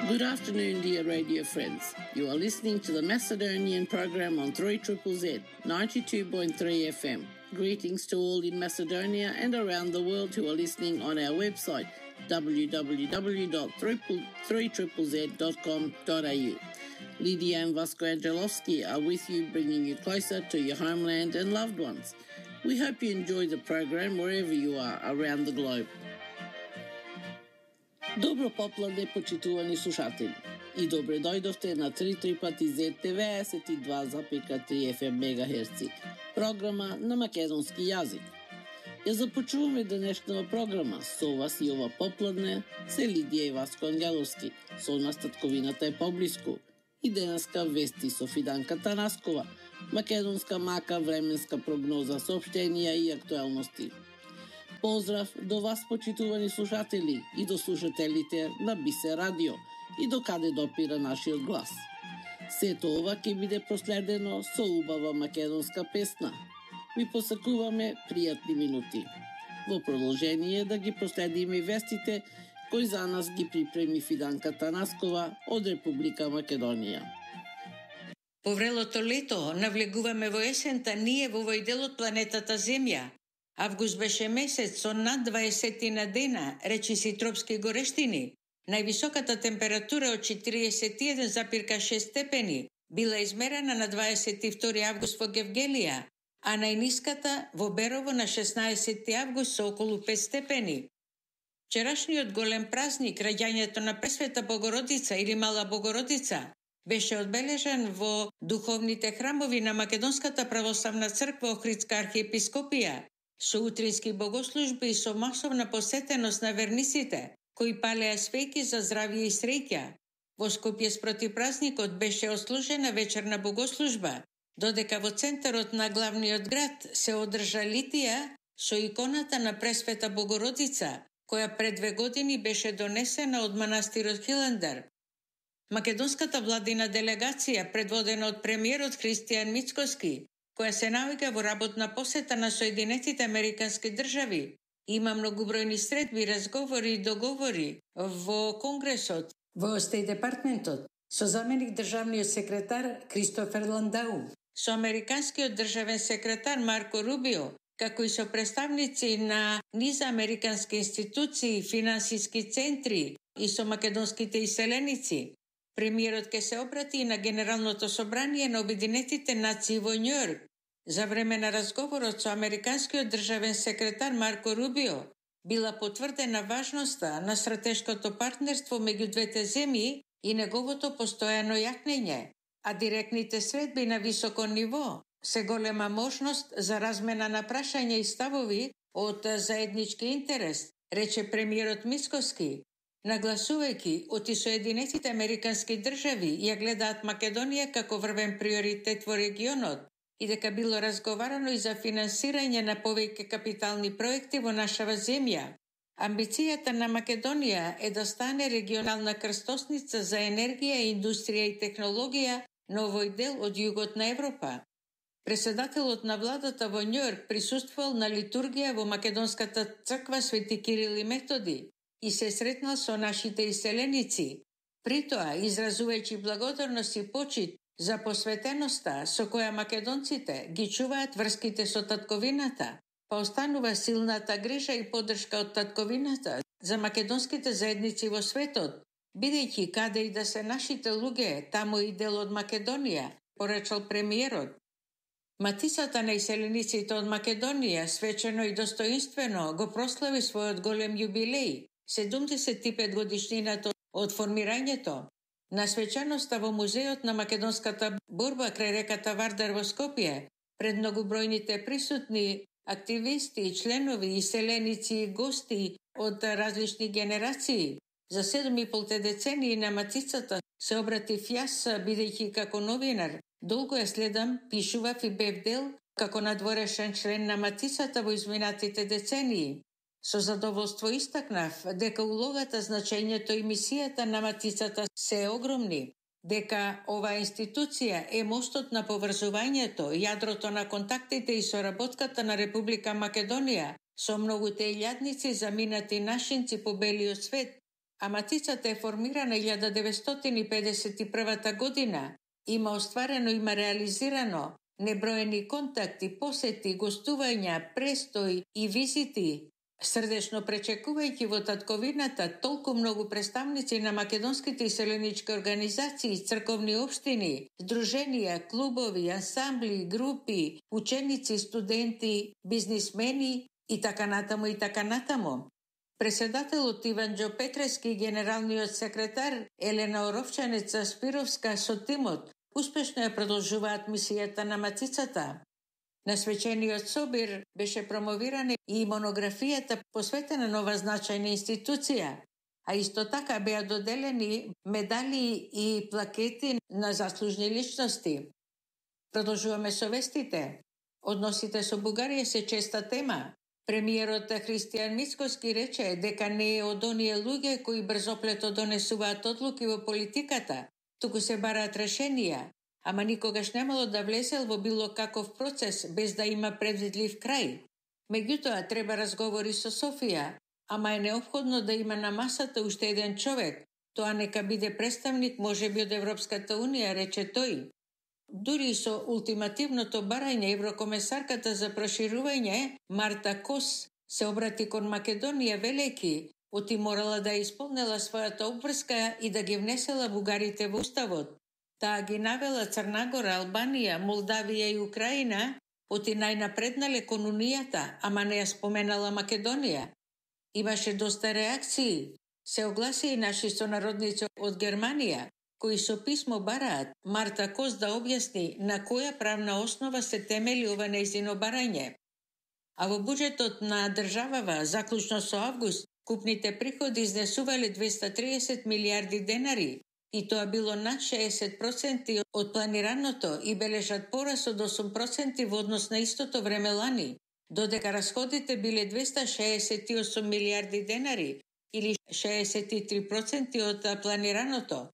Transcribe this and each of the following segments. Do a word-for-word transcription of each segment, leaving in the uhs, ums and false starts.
Good afternoon, dear radio friends. You are listening to the Macedonian program on three Z Z Z, ninety-two point three F M. Greetings to all in Macedonia and around the world who are listening on our website, w w w dot three z z z dot com dot a u. Lydia and Vasco Angelovski are with you, bringing you closer to your homeland and loved ones. We hope you enjoy the program wherever you are around the globe. Добро попладне, почитувани слушатели, и добре дојдовте на три трипати зет деветдесет и два запирка три Ф М мегахерци, програма на македонски јазик. Ја започуваме денешната програма со вас и ова попладне се Лидија и Васко Ангеловски, со нас татковината е поблиску, и денеска вести со Фиданка Танаскова, македонска мака, временска прогноза, соопштенија и актуелности. Поздрав до вас, почитувани слушатели, и до слушателите на Бисе Радио, и до каде допира нашиот глас. Сето ова ќе биде проследено со убава македонска песна. Ви посакуваме пријатни минути. Во продолжение да ги проследиме вестите кои за нас ги припреми Фиданка Танаскова од Република Македонија. По врелото лето навлегуваме во есента ние во овој дел од планетата Земја. Август беше месец со над дваесет на дена, речиси тропски горештини. Највисоката температура од четириесет и еден запирка шест степени била измерена на дваесет и втори август во Гевгелија, а најниската во Берово на шеснаесети август со околу пет степени. Вчерашниот голем празник, раѓањето на Пресвета Богородица или Мала Богородица, беше одбележан во духовните храмови на Македонската православна црква Охридска архиепископија, со утрински богослужби и со масовна посетеност на верниците, кои палеа свеќи за здравје и среќа. Во Скопје спроти празникот беше отслужена вечерна богослужба, додека во центарот на главниот град се одржа литија со иконата на Пресвета Богородица, која пред две години беше донесена од манастирот Хиландар. Македонската владина делегација, предводена од премиерот Христијан Мицкоски, која се наоѓа во работна посета на Соединетите Американски држави, има многобројни средби, разговори и договори во Конгресот, во Стејт департментот, со заменик државниот секретар Кристофер Ландау, со американскиот државен секретар Марко Рубио, како и со представници на низ американски институции, финансиски центри и со македонските иселеници. Премиерот ке се обрати на Генералното собрание на Обединетите нации во Њујорк. За време на разговорот со американскиот државен секретар Марко Рубио била потврдена важноста на стратешкото партнерство меѓу двете земји и неговото постојано јакнење, а директните средби на високо ниво се голема можност за размена на прашања и ставови од заеднички интерес, рече премиерот Мицкоски, нагласувајќи оти Соединетите Американски држави ја гледаат Македонија како врвен приоритет во регионот и дека било разговарано и за финансирање на повеќе капитални проекти во нашава земја. Амбицијата на Македонија е да стане регионална крстосница за енергија, индустрија и технологија на овој дел од југот на Европа. Председателот на владата во Њујорк присуствувал на литургија во Македонската црква Свети Кирил и Методи и се сретнал со нашите иселеници, притоа изразувајќи благодарност и почит за посветеноста со која македонците ги чуваат врските со татковината, па останува силната грижа и поддршка од татковината за македонските заедници во светот, бидејќи каде и да се нашите луѓе, таму и дел од Македонија, порачал премиерот. Матицата на иселениците од Македонија свечено и достоинствено го прослави својот голем јубилеј, седумдесет и пет годишнината од формирањето. На свечаноста во музеот на македонската борба крај реката Вардар во Скопје, пред многобројните присутни активисти, членови, иселеници и гости од различни генерации, за седум и пол децении на Матицата се обратив јас, бидејќи како новинар долго ја следам, пишував и бев дел како надворешен член на Матицата во изминатите децении. Со задоволство истакнав дека улогата, значењето и мисијата на Матицата се огромни, дека оваа институција е мостот на поврзувањето, јадрото на контактите и соработката на Република Македонија со многуте илјадници заминати нашинци по белиот свет, а Матицата е формирана илјада деветстотини и педесет и прва година. Има остварено, има реализирано неброени контакти, посети, гостувања, престои и визити. Срдечно пречекувајќи во татковината толку многу представници на македонските иселенички организации, црковни општини, здруженија, клубови, ансамбли, групи, ученици, студенти, бизнисмени и така натаму и така натаму. Преседателот Иван Џо Петрески и генералниот секретар Елена Оровчанеца Спировска со тимот успешно ја продолжуваат мисијата на Матицата. На свечениот собир беше промовирана и монографијата посветена на ова значајна институција, а исто така беа доделени медали и плакети на заслужни личности. Продолжуваме со вестите. Односите со Бугарија се честа тема. Премиерот Христијан Мицкоски рече дека не е од оние луѓе кои брзоплето донесуваат одлуки во политиката, туку се бараат решенија, ама никогаш немало да влезел во било каков процес без да има предвидлив крај. Меѓутоа треба разговори со Софија, ама е неопходно да има на масата уште еден човек. Тоа нека биде представник можеби од Европската унија, рече тој. Дури со ултимативното барање еврокомесарката за проширување Марта Кос се обрати кон Македонија велејќи, оти морала да исполнела својата обврска и да ги внесела бугарите во уставот. Таа ги навела Црнагора, Албанија, Молдавија и Украина, оти најнапреднале кон унијата, ама не ја споменала Македонија. Имаше доста реакции. Се огласи и наши сонародници од Германија, кои со писмо бараат Марта Кос да објасни на која правна основа се темели ова нејзино барање. А во буџетот на државава, заклучно со август, купните приходи изнесувале двеста и триесет милијарди денари, и тоа било над шеесет проценти од планираното и бележат порас од осум проценти во однос на истото време лани, додека расходите биле двеста шеесет и осум милијарди денари или шеесет и три проценти од планираното.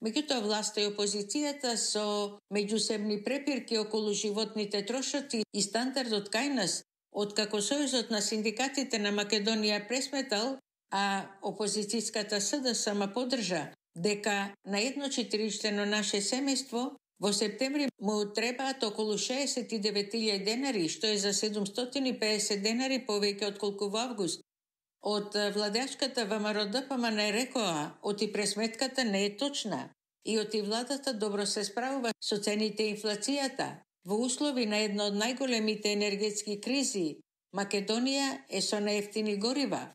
Меѓутоа власта и опозицијата со меѓусебни препирки околу животните трошоци и стандардот кај нас, откако Сојузот на синдикатите на Македонија пресметал, а опозицијската СДСМ ма поддржа дека на едно четиричлено наше семејство во септември му требаат околу шеесет и девет илјади денари, што е за седумстотини и педесет денари повеќе отколку во август. Од владеачката ВМРО-ДПМН не рекоа, оти пресметката не е точна и оти владата добро се справува со цените и инфлацијата. Во услови на една од најголемите енергетски кризи, Македонија е со најевтини горива.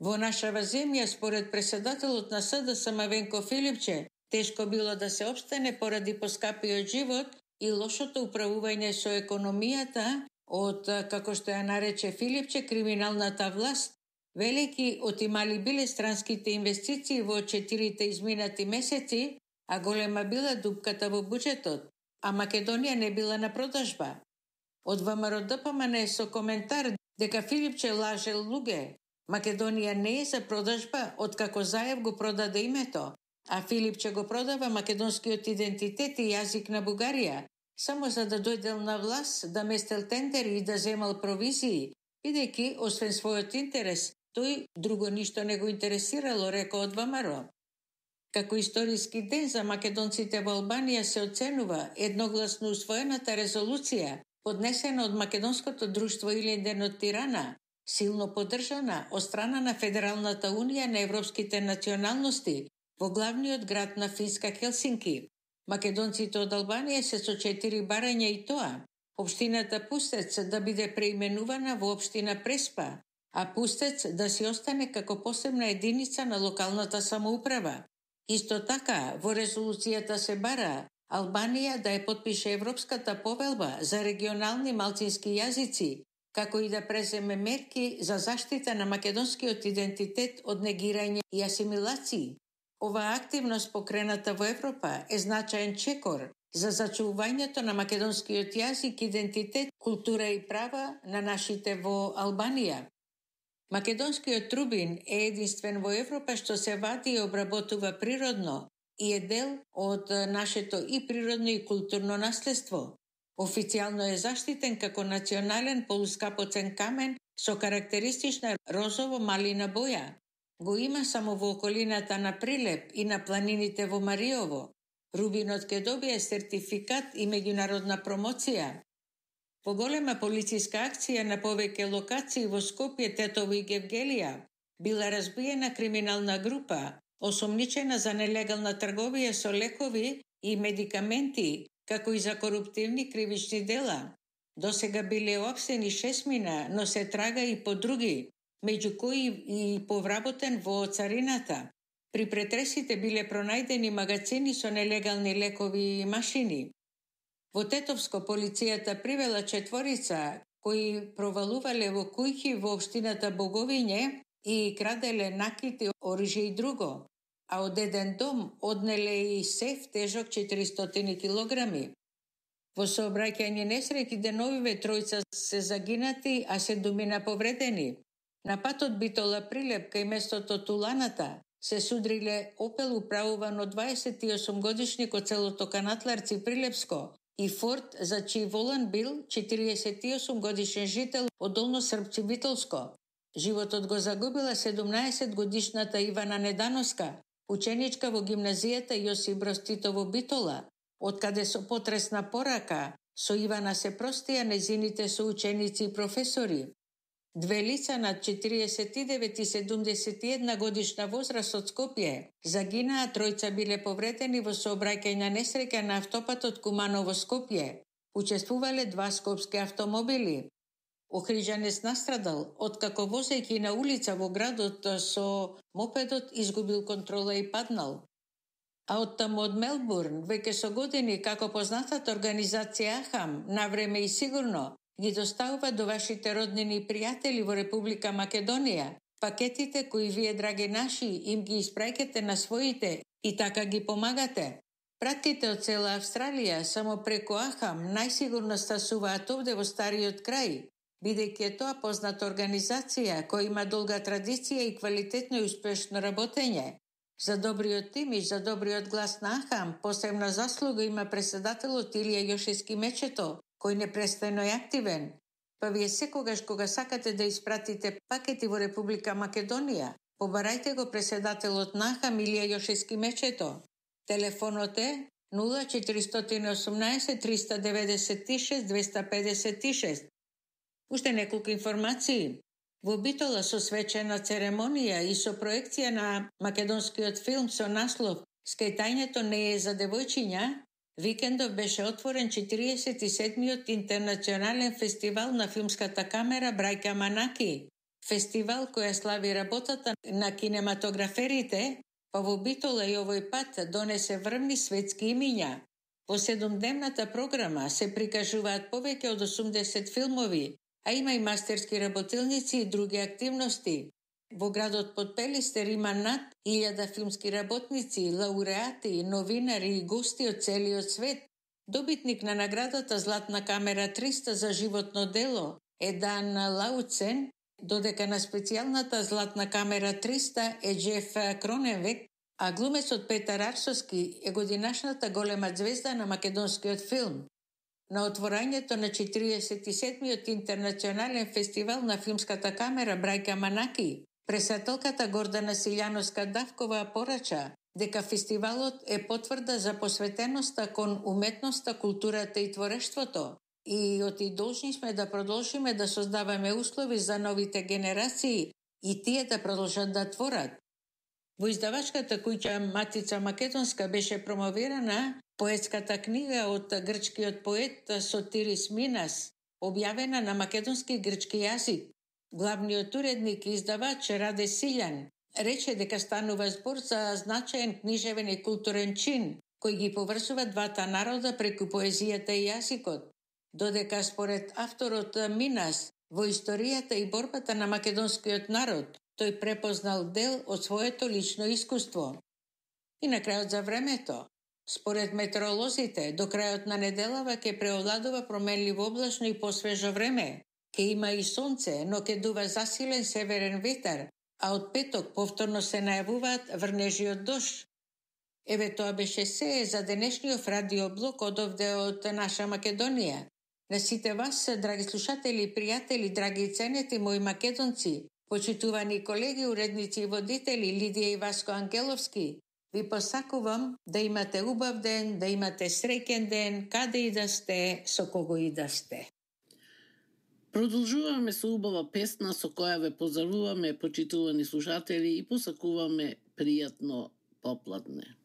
Во нашава земја, според преседателот на СДСМ Венко Филипче, тешко било да се опстане поради поскапиот живот и лошото управување со економијата од, како што ја нарече Филипче, криминалната власт, велики отимали биле странските инвестиции во четирите изминати месеци, а голема била дупката во буџетот, а Македонија не била на продажба. Од ВМРО-ДПМН со коментар дека Филипче лаже луѓе. Македонија не е за продажба, откако Заев го продаде името, а Филипче го продава македонскиот идентитет и јазик на Бугарија, само за да дојдел на власт, да местел тендери и да земал провизии, бидејќи, освен својот интерес, тој друго ништо не го интересирало, рекол од ВМРО. Како историски ден за македонците во Албанија се оценува едногласно усвоената резолуција, поднесена од Македонското друштво Илинден од Тирана, силно поддржана од страна на Федералната унија на европските националности во главниот град на Финска Хелсинки. Македонците од Албанија се со четири барања и тоа. Општината Пустец да биде преименувана во општина Преспа, а Пустец да си остане како посебна единица на локалната самоуправа. Исто така, во резолуцијата се бара Албанија да ја подпише Европската повелба за регионални малцински јазици, како и да преземе мерки за заштита на македонскиот идентитет од негирање и асимилации. Оваа активност покрената во Европа е значаен чекор за зачувувањето на македонскиот јазик, идентитет, култура и права на нашите во Албанија. Македонскиот трубин е единствен во Европа што се вади и обработува природно и е дел од нашето и природно и културно наследство. Официјално е заштитен како национален полускапоцен камен со карактеристична розово-малина боја. го има само во околината на Прилеп и на планините во Мариово. Рубинот ќе добие сертификат и меѓународна промоција. Поголема полициска акција на повеќе локации во Скопје, Тетово и Гевгелија била разбиена криминална група, осомничена за нелегална трговија со лекови и медикаменти, како и за коруптивни кривични дела. Досега биле опсени шесмина, но се трага и по други, меѓу кои и повработен во царината. При претресите биле пронајдени магазини со нелегални лекови и машини. Во Тетовско полицијата привела четворица кои провалувале во кујки во општината Боговиње и краделе накити, оружје и друго, а од еден дом однеле и сеф тежок четиристотини килограми. Во сообраќајни несреќи деновиве тројца се загинати, а седумина повредени. На патот Битола Прилеп кај местото Туланата се судриле Опел управуван од дваесет и осум годишник од селото Канатларци Прилепско и Форд за чиј волан бил четириесет и осум годишен жител од Долно Српци Битолско. Животот го загубила седумнаесет годишната Ивана Недановска, ученичка во гимназијата Јосип Броз Тито во Битола, откаде со потресна порака со Ивана се простија незините соученици и професори. Две лица над четириесет и девет и седумдесет и една годишна возраст од Скопје загинаа, тројца биле повредени во сообраќајна несреќа на автопатот Куманово Скопје. Учествувале два скопски автомобили. Охриđанец настрадал, откако возејќи на улица во градот со мопедот изгубил контрола и паднал. А оттаму од Мелбурн, веќе со години, како познатата организација Ахам, навреме и сигурно, ги доставува до вашите роднини и пријатели во Република Македонија пакетите кои вие, драги наши, им ги испраќате на своите и така ги помагате. Пратките од цела Австралија само преку Ахам најсигурно стасуваат овде во стариот крај, бидејќи е тоа позната организација која има долга традиција и квалитетно и успешно работење. За добриот имидж, за добриот глас на Ахам, посебна заслуга има председателот Илија Јошевски Мечето, кој непрестано е активен. Па вие секогаш кога сакате да испратите пакети во Република Македонија, побарајте го председателот на Ахам Илија Јошевски Мечето. Телефонот е нула четиристотини и осумнаесет триста деветдесет и шест двеста педесет и шест. Уште неколку информации. Во Битола со свечена церемонија и со проекција на македонскиот филм со наслов "Скајтањето не е за девојчиња", викендов беше отворен четириесет и седмиот интернационален фестивал на филмската камера Брајка Манаки. Фестивал која слави работата на кинематограферите, па во Битола и овој пат донесе врвни светски имиња. Во седумдневната програма се прикажуваат повеќе од осумдесет филмови, а има и мастерски работилници и други активности. Во градот Подпелистер има над илјада филмски работници, лауреати, новинари и гости од целиот свет. Добитник на наградата Златна камера триста за животно дело е Дан Лауцен, додека на специјалната Златна камера триста е Джеф Кроненвек, а глумецот Петар Арсовски е годинашната голема звезда на македонскиот филм. На отворањето на четириесет и седмиот интернационален фестивал на филмската камера Брајка Манаки, пресателката Гордана Силјановска-Давкова порача дека фестивалот е потврда за посветеноста кон уметноста, културата и творештвото и оти должни сме да продолжиме да создаваме услови за новите генерации и тие да продолжат да творат. Во издавачката куќа Матица Македонска беше промовирана поетската книга од грчкиот поет Сотирис Минас, објавена на македонски и грчки јазик. Главниот уредник и издавач Раде Силјан рече дека станува збор за значаен книжевен и културен чин, кој ги поврзува двата народа преку поезијата и јазикот, додека според авторот Минас во историјата и борбата на македонскиот народ тој препознал дел од своето лично искуство. И на крајот за времето. Според метеоролозите, до крајот на неделава ќе преовладува променливо облачно и посвежо време. Ке има и сонце, но ке дува засилен северен ветар, а од петок повторно се најавуваат врнежи од дожд. Еве тоа беше се за денешниот радиоблог од овде од наша Македонија. На сите вас, драги слушатели и пријатели, драги и ценети мои македонци, Почитувани колеги, уредници и водители Лидија и Васко Ангеловски, ви посакувам да имате убав ден, да имате среќен ден, каде и да сте, со кого и да сте. Продолжуваме со убава песна со која ве поздравуваме, почитувани слушатели, и посакуваме пријатно попладне.